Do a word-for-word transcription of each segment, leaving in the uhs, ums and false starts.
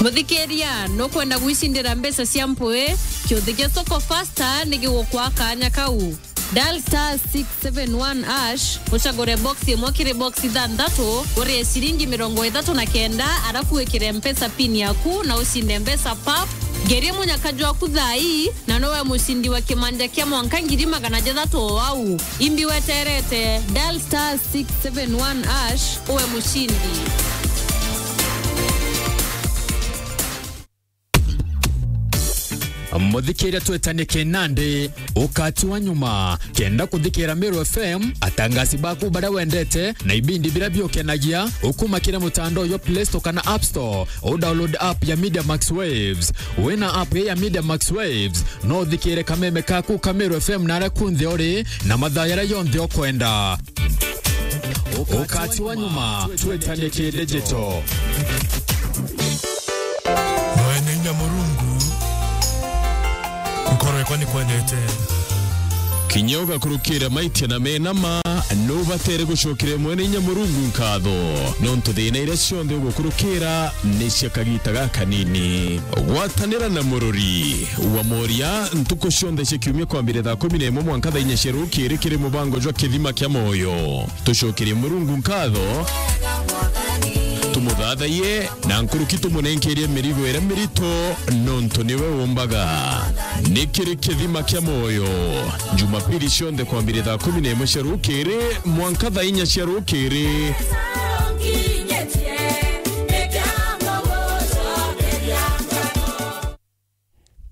Muthikiria, nukwenda gwicindira mbeca cia mpui? Kiuthi gia Soko Fasta ni gigukwa kanya kau. Dial star six seven one hash, ucagure box imwe kiri box ithanthatu, urie ciringi mirongo ithatu na kenda, arafu wikire Mpesa pin yaku na ucinde mbeca pap. Ngerie munyaka jwaku thaa ii, na nowe mucindi wa kimanja kia mwanka ngiri magana jathatu o au. Imbi weterete, dial star six seven one hash, uwe mucindi. Muthikiria, twetanie kinandi, ukati wa nyuma. Kenda kuthikira Meru F M, atangasi baku baria wendete, na ibindi biria biukenagia, ukuma kiri mutandao jwa Play Store kana App Store, u download app ya Media Max Waves. Wina app ya Media Max Waves, no uthikire kameme kaku ka Meru F M na aria kunthe uri, na mathaa jaria jonthe ukwenda. Ukati wa nyuma, twetanie ki digital. Mwene inya Murungu, nkoro yakwa nikwendete. Kinya ugakurukira maitia na menama, nubatere gucokera Mwene inya Murungu nkatho, nontu thina iria cionthe ugukurukira ni cia kagita gakanini. Gwatanira na Murori wa Moria ntuku cionthe cia kiumia kwambire thaa kumi na imwe mwanka thaa inya cia rukiri kiri mubango jwa Kithima kia Moyo. Tucokerie Murungu nkatho, tumuthathaiye, na nkuruki tumunenkerie mirigo iria mirito, nontu niwe umbaga. Ni kiri Kithima kia Moyo, Jumapili cionthe kwambire thaa kumi na imwe cia rukiri mwanka thaa inya cia rukiri.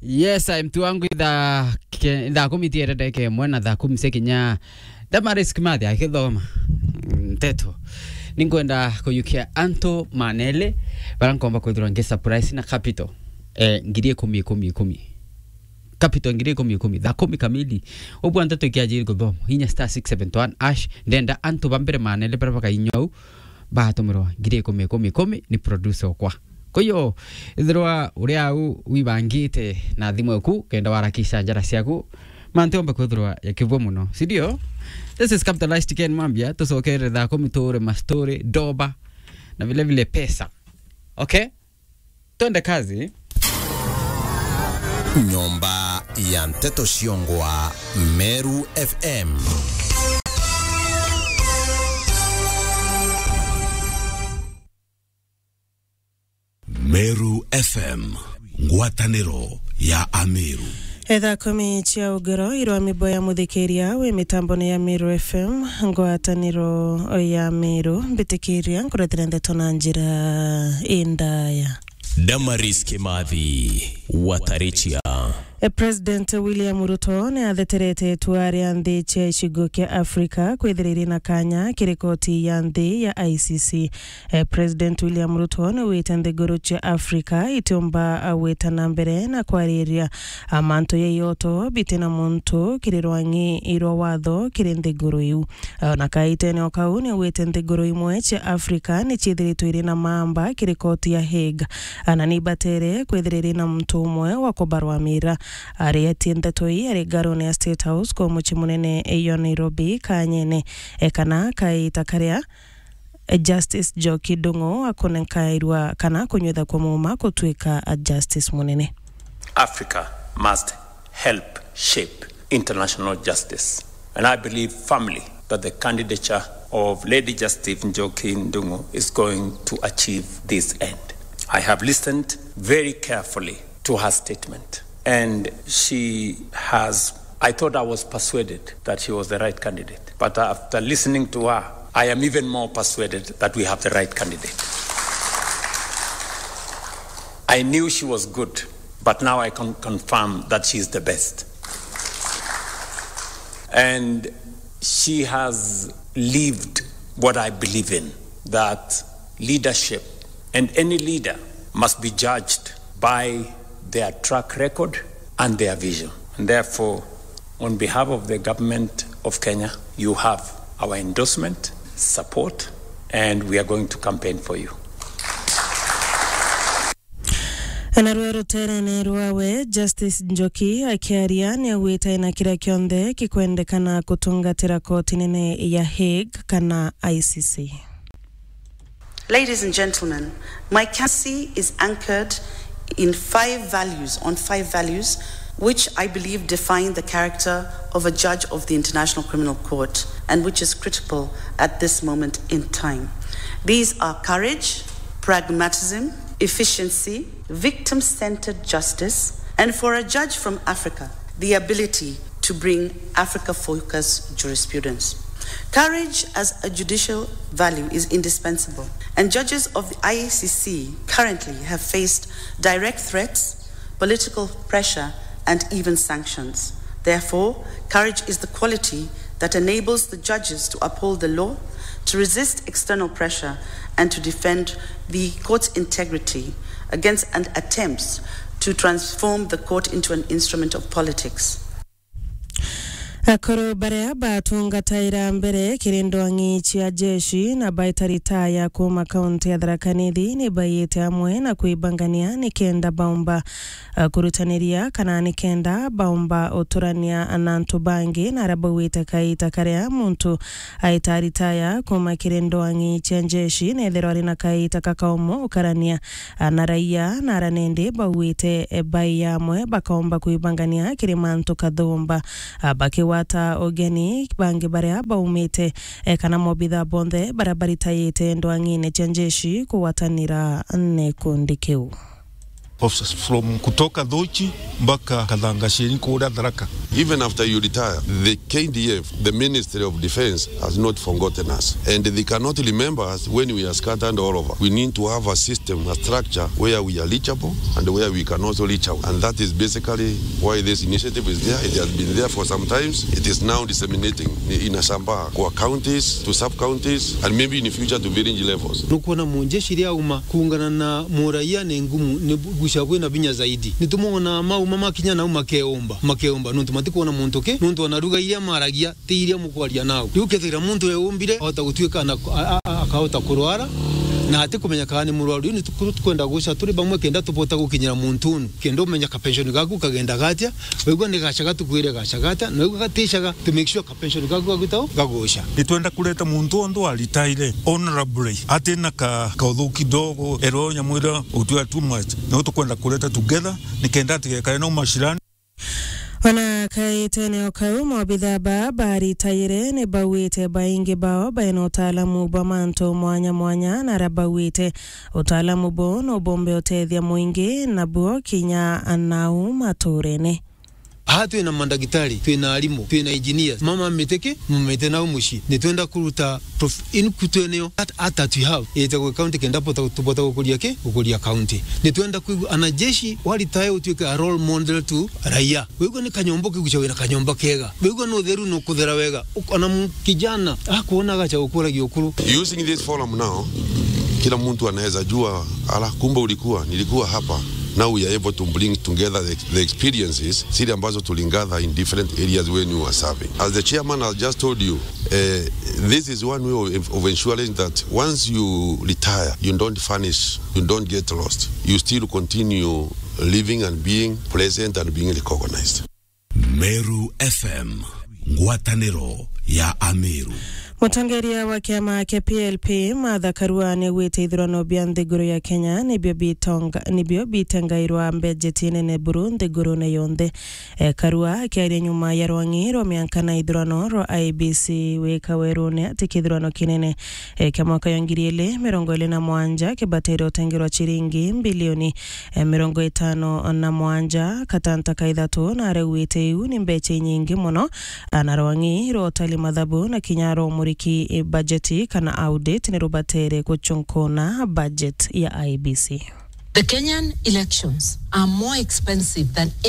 Yes, I, mtu wangu, ithaa ke-, ithaa kumi tiere ndeke imwe na thaa kumi cia kinya. Damaris Kimathi akithoma nteto. Ninkwenda kuyukia antu manele, bara nkomba kwithirwa ngi surprise na capital. Eh, ngiri ikumi, ikumi, ikumi. Capital ngiri ikumi, ikumi. Thaa kumi kamili. Ubwa nteto ikiajiri kuthoma. Inya star six seven one hash. Ndenda antu ba mbere manele bara bakainyou. Batumirwa ngiri ikumi, ikumi, ikumi ni producer okwa. Kwa hiyo, ithirwa uri au wibangite na thimu eku, kenda warakisha njara ciaku, mantu yomba kwithirwa ya kivua muno. Si ndio? This is Capitalized Ken Mambia, tucokere thaa kumi tuure mastori, doba, na vile vile pesa. Okay? Twende kazi. Nyomba ya nteto ciongwa Meru F M. Meru F M, ngwataniro ya Ameru. Etha kumi cia ugoro irwa mibo ya muthikiria wi mitambone ya Meru F M, ngwataniro ya Meru, mbitikiria nkuretera ndeto na njira indaya. Damaris Kimathi, Watarichia. E, President William Ruto ni atheterete itua ria nthi cia icigo kia Afrika kwithira iri na kanya kiri koti ya nthi ya I C C. E, President William Ruto ni wite nthiguru cia Afrika itiumba gwita na mbere na kwariria, a, mantu ya ioto biti na muntu kiri rwang'i rwa watho kiri nthiguru iu. Ona kaitene o kau, ni augite nthiguru imwe cia Afrika ni ciithiritwe iri na mamba kiri koti ya Hague, ana ni ibatere kwithira iri na muntu umwe wa kubarwamira. Arietie ndeto ii ari ngarone ya State House kwa mucii munene yo Nairobi, kanyene, e, kana kaita karia, e, Justice Njoki Ndung'u akunenkairwa kana kunyuitha kwa muuma gutuika, a, Justice munene. Africa must help shape international justice. And I believe firmly that the candidature of Lady Justice Njoki Ndung'u is going to achieve this end. I have listened very carefully to her statement, and she has, I thought I was persuaded that she was the right candidate. But after listening to her, I am even more persuaded that we have the right candidate. I knew she was good, but now I can confirm that she is the best. And she has lived what I believe in, that leadership and any leader must be judged by their track record and their vision. And therefore, on behalf of the government of Kenya, you have our endorsement, support, and we are going to campaign for you. Ana rwe ruterene rwawe, Justice Njoki akiaria ni augite ena kiria kionthe gikwendekana gutungatira koti nene ya Hague kana I C C. Ladies and gentlemen, my candidacy is anchored in five values, on five values, which I believe define the character of a judge of the International Criminal Court, and which is critical at this moment in time. These are courage, pragmatism, efficiency, victim-centered justice, and for a judge from Africa, the ability to bring Africa-focused jurisprudence. Courage as a judicial value is indispensable, and judges of the I C C currently have faced direct threats, political pressure, and even sanctions. Therefore, courage is the quality that enables the judges to uphold the law, to resist external pressure, and to defend the court's integrity against and attempts to transform the court into an instrument of politics. Akuru baria batungataira mbere kiri ndwang'i cia jeshi na baita ritaya kuuma kaunti ya Tharaka Nithi ni baiyite amwe na kwibangania nikenda baumba, eh, kurutaniria kana nikenda baumba uturania na antu bangi, na aria bauite kaita karia muntu aita ritaya kuuma kiri ndwang'i cia jeshi nethirwa ari na kaita kakaumu ukarania na raia, na aria nindi bauite, eh, bai amwe bakaumba kwibangania kiri mantu kathumba, ah, bakigwata ugeni bangi baria baumite, eh, kana mobitha bonthe baria baritayite ndwang'ine cia njeshi kugwatanira na gikundi kiu. Officers from kutoka Dhochi mpaka Kathangasheni kuria Tharaka. Even after you retire, the K D F, the Ministry of Defense, has not forgotten us. And they cannot remember us when we are scattered all over. We need to have a system, a structure where we are reachable and where we can also reach out. And that is basically why this initiative is there. It has been there for some times. It is now disseminating, inasambaa kwa counties, to sub-counties, and maybe in the future to village levels. Nukwona munjeshi riria auma kuungana na muraia ni ngumu, ni gucia bwina binya zaidi. Nitumwona mauma makinya nau makeumba, makeumba, nontu matikwona muntu ki, nontu ona ruga iria maragia ti iria mukwaria nau. Riu kethira muntu eumbire, ahota gutuika na, a, a, a, akahota kurwara, na atikumenya kana ni murwaru. Riu ni tuku-, tukwenda guca turi bamwe kenda tubota gukinyira muntu unu, kenda umenya ka pension gaku kagenda gatia, waigua ni gacaga tukwire gacaga atia, na waigua gaticaga, to make sure ka pension gaku gaguta u, gaguca. Nitwenda kureta muntu onthe wa ritaire honorably, atina ka, ka uthuki kidogo, ero nyamu iria utwira too much. Niu tukwenda kureta together, nikenda atigekare na umashirani. Ona kaitene o kau, mobitha ba baritaire ni bauite baingi bao baina utaalamu bwa mantu mwanya mwanya, na aria bauite utaalamu buu no bombe utethia mwingi nabuo kinya nau maturene. Aha twina mandagitari, twina arimu, twina engineers, mama mitiki, mumite nau mucii. Nitwenda kuruta prof-, in kutweneo that art that we have, ite gwe county kenda bota, tubota gukuria ki? Gukuria county. Nitwenda kwigua anajeshi wa retire utuike a role model to raia. Wigua ni kanyomba ukigucia wina kanyomba kega. Wigua ni utheru ni ukuthera wega. Uk-, ona mu-, kijana akuona agacha gukuragia ukuru. Using this forum now, kila mtu anaweza jua, "Ala, kumbe ulikuwa, nilikuwa hapa." Now we are able to bring together the, the experiences, zile ambazo tuligather in different areas when you were serving. As the chairman has just told you, eh, this is one way of, of ensuring that once you retire, you don't vanish, you don't get lost. You still continue living and being present and being recognized. Meru F M, ngwataniro ya Ameru. Mutongeria wa kiama kia P L P, Martha Karua, niaugite ithurano bia nthiguru ya Kenya nibio bitonga-, nibio bitengairwa mbejeti nene buru nthigurune yonthe. E, Karua akiaria nyuma ya rwang'i rwa mianka na ithurano rwa I E B C wika werune ati kithurano kinene, e, kia mwaka ya ngiri ili mirongo ili na mwanja kibatire utengerwa ciringi mbilioni e, mirongo itano na mwanja katanta ka ithatu, na arauite iu ni mbecha inyingi mono, na rwang'i rwa utali mathabu na kinya rwa umuriki, e, bajeti kana audit ni rubatere guchunkuna budget ya I E B C. The Kenyan elections are more expensive than